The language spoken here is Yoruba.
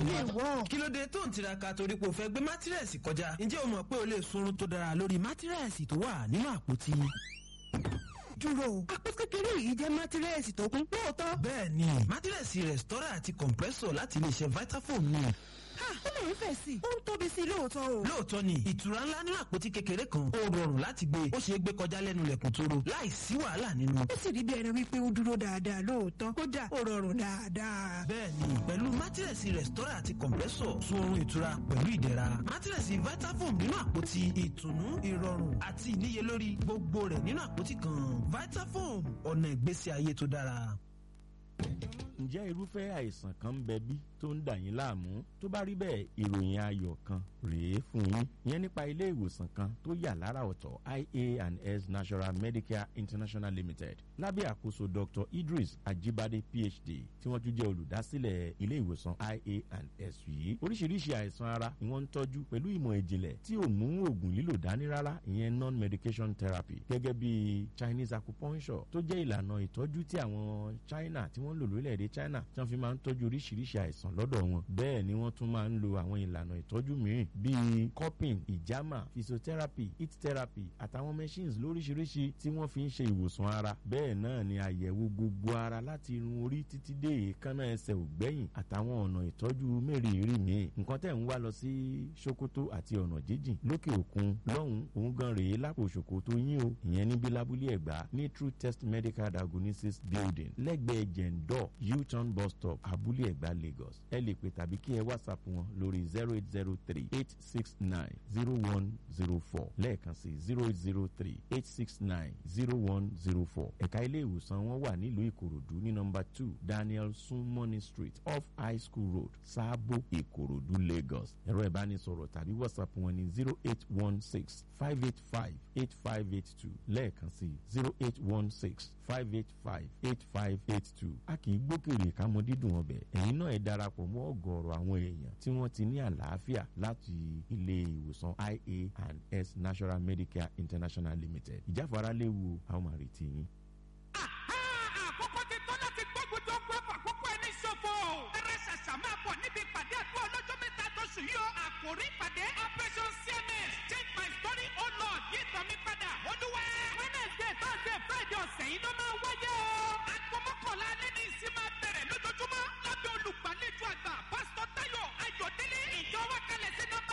lè wọ̀. Kí ló dé tó ń tiraka torí pé o fẹ́ gbé mátírẹ́sì kọjá? Ǹjẹ́ o mọ̀ pé o lè sunrun tó dára lórí mátírẹ́sì tó wà nínú àpótí? Dúró, àpò kékeré yìí jẹ́ mátírẹ́sì tó kún lóòótọ́. Bẹ́ẹ̀ni, mátírẹ́sì Restore àti compressor láti iléeṣẹ́ Vitafoam ni. Ha, ó lè ń fẹ̀ sí i, ó ń tóbi sí i lóòótọ́ o. Lóòótọ́ ni, ìtura ńlá nínú àpótí kékeré kan, ó rọrùn láti gbé, ó ṣeé gbé kọjá lẹ́nu lẹ̀kùn tóró láì sí wàhálà nínú. Ó sì rí bí ẹni wípé ó dúró dáadáa lóòótọ́, kódà ó rọrùn dáadáa. Bẹ́ẹ̀ni, pẹ̀lú mátírẹ̀sì Restore àti compressor, sun oorun ìtura pẹ̀lú ìdẹ̀ra. Mátírẹ̀sì Vitafoam nínú àpótí, ìtùnú, ìrọ̀rùn àti ìníyelórí gbogbo rẹ̀ nínú àpótí kan. Vitafoam, ọ̀nà ìgbésí ayé tó dára. Ǹjẹ́ irúfẹ́ àìsàn kan ń bẹ bí tó ń dà yín láàmú? Tó bá rí bẹ́ẹ̀, ìròyìn ayọ̀ kan rèé fún yín, ìyẹn nípa ilé ìwòsàn kan tó yà lára ọ̀tọ̀, ia and s National Medicare International Limited, lábẹ́ àkóso Dr. Idris Ajibade, PhD, tí wọ́n tún jẹ́ olùdásílẹ̀ ilé ìwòsàn ia and s yìí. Oríṣiríṣi àìsàn ara ni wọ́n ń tọ́jú pẹ̀lú ìmọ̀ ìjìnlẹ̀ tí ò mú oògùn lílò dání rárá, ìyẹn non-medication therapy, gẹ́gẹ́ bí Chinese acupuncture, tó jẹ́ ìlànà ìtọ́jú tí àwọn China tí wọ́n ń lò lórílẹ̀‐èdè China, tí wọ́n fi máa ń tọ́jú oríṣiríṣi àìsàn lọ́dọ̀ wọn. Bẹ́ẹ̀ ni wọ́n tún máa ń lo àwọn ìlànà ìtọ́jú mìíràn bíi cupping, ìjàmà, physiotherapy, heat therapy àtàwọn machines lóríṣiríṣi tí wọ́n fi ń ṣe ìwòsàn ara. Bẹ́ẹ̀ náà ni àyẹ̀wò gbogbo ara láti irun orí títí dé èékánná ẹsẹ̀ ògbẹ́yìn àtàwọn ọ̀nà ìtọ́jú mẹ́rìírí míì. Nǹkan tẹ̀ ń wá lọ sí Sokoto àti ọ̀nà jíjìn lókè òkun lọ́hùn òun gan rèé lápò Sokoto yín o, ìyẹn níbi lábúlé Ẹ̀gbá ní True Test Medical Diagnosis Building, lẹ́gbẹ̀ẹ́ Jẹ̀ǹdọ̀ U-turn bus stop, Abúlé Ẹ̀gbá, Lagos. Ẹ lè pè tàbí kí ẹ WhatsApp wọn lórí 08038690104, lẹ́ẹ̀kan sí 08038690104. Ẹ̀ka ilé ìwòsàn wọn wà nílùú Ìkòròdú ní nọ́mbà 2 Daniel Sunmoney Street, off High School Road, Sáàbò, Ìkòròdú, Lagos. Ẹ̀rọ ìbánisọ̀rọ̀ tàbí WhatsApp wọn ní 08165858582, lẹ́ẹ̀kan sí 08165858582. A kì í gbókèrè ká mọ dídùn ọbẹ̀. Ẹ̀yin náà ẹ darapọ̀ mọ́ ọ̀gọ̀ọ̀rọ̀ àwọn èèyàn tí wọ́n ti ní àlàáfíà láti ilé ìwòsàn ia and s National Medicare International Limited. Ìjáfara léwu, àwọn máa retí yín. Àkókò ti tó láti gbógun tó gbọ́ fàkókò ẹni ṣòfò. Ẹrẹ ṣàṣà máa bọ̀ níbi ìpàdé àdúrà ọlọ́jọ́ mẹ́ta tó sùn yìí o. Àkòrí ìpàdé: Operation CMS, Change My Story, O Lord, yí ìtàn mi padà, Olúwa. Wednesday, Thursday, Friday ọ̀sẹ̀ yìí ló máa wáyé o. Aago 11 alẹ́ ní ìsìn máa bẹ̀rẹ̀ lójoojúmọ́ lábẹ́ olùgbàlejò àgbà, Pásítọ̀ Táyọ̀ Ayọ̀délé. Ìjọ wa kalẹ̀ sí nọ́mbà